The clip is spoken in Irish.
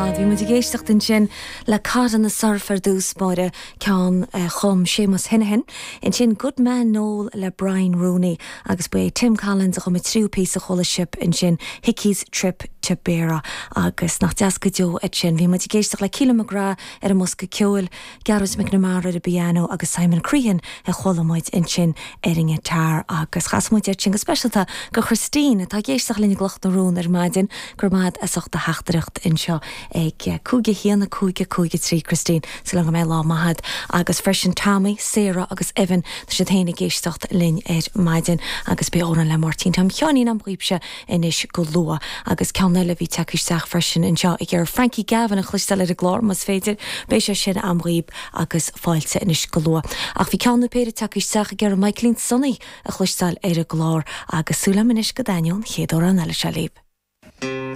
fad. Bhí muid ag éisteacht ansin le Cod in the Surf ar dtús báire, ceann a chum Séamus Heneghan, ansin Good Man Noel le Brian Rooney agus ba é Tim Collins a chum an tríú píosa a chuala sibh ansin, Hickey's Trip to Beara. Agus nach deas go deo iad sin. Bhí muid ag éisteacht le Keelan McGrath ar an mbosca ceoil, Gearóid McNamara ar an bpianó agus Simon Crehan a chuala muid ansin ar an ngiotár agus chas muid iad sin go speisialta go Christine atá ag éisteacht linn i gCloch na Rón ar maidin. Go raibh maith agat as ucht do theachtaireacht anseo ag 5 1 5 5 3 Christine. Súil agam go mbeidh lá maith agat agus freisin Tommy, Sarah agus Evan tá siad féin ag éisteacht linn ar maidin agus beidh amhrán le Máirtín Tom Sheáinín a'm dhaoibhse anois go luath. Agus ceann eile a bhí tagtha isteach freisin anseo ag iarraidh Frankie Gavin a chloisteáil ar an gclár, más féidir. Beidh sé sin a'm dhaoib agus fáilte anois go luath. Ach bhí ceann nó péire tagtha isteach ag iarraidh Michaelín Sonaí a chloisteáil ar an gclár agus súil a'm anois go dtaitneoidh an chéad amhrán eile seo libh.